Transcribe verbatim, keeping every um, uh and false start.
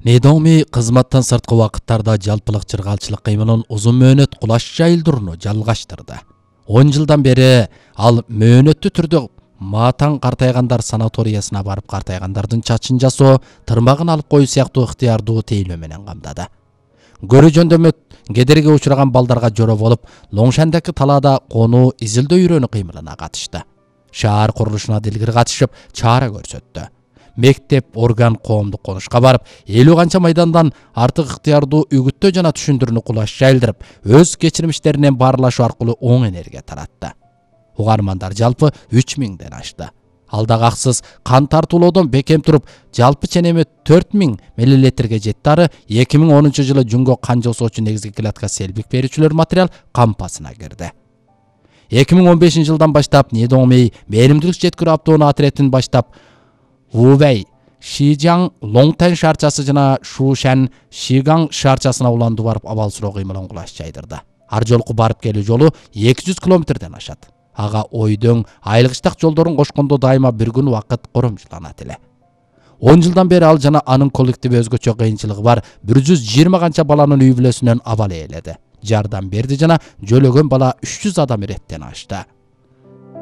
Недоми кызматтан сырткы убакыттарда жалпылык чыргалчылык кыймылын узун мөөнөт кулаш жайылдырууну жалгаштырды. он жылдан бери ал мөөнөттүү түрдө матаң картайгандар санаториясына барып картайгандардын чачын жасоо, тырмагын алып коюу сыяктуу ыктыярдуу тейлөө менен камдады. Көрүү жөндөмө кедерге учураган балдарга жороо болуп, Лоңшандагы талаада конуу изилдөө үйрөнүү кыймылына катышты. Шаар курулушуна дилгир катышып, чара көрсөттү. Мектеп, орган, коомдук конушка барып, элүү канча майдандан артык ыктыярдуу үгүттөө жана түшүндүрүүнү кулаш жайылдырып, өз кечирмиштеринен баарлашуу аркылуу оң энергия таратты. Угармандар жалпы үч миңден ашты. Алдагы аксыз кан тартуулоодон бекем туруп, жалпы ченеми төрт миң миллилитрге жетти ары эки миң онунчу жылы жүнгө кан жасоочу негизги клетка селбик берүүчүлөр материал кампасына кирди. эки миң он бешинчи жылдан баштап Недоми мээримдүүлүк жеткирүү автоунаа отрядын баштап Увэй, Шижаң, Лоңтэн шаарчасы жана Шушан, Шигаң шаарчасына уланды барып абал суроо кыймылын кулаш жайдырды. Ар жолку барып келүү жолу эки жүз километрден ашат. Ага ойдоң, айылгычтак жолдорун кошкондо дайыма бір күн убакыт коромжуланат эле. он жылдан бери ал жана анын коллективи өзгөчө кыйынчылыгы бар бир жүз жыйырма канча баланын үй бүлөсүнөн абал ээледи. Жардам берди жана жөлөгөн бала үч жүз адам иреттен ашты.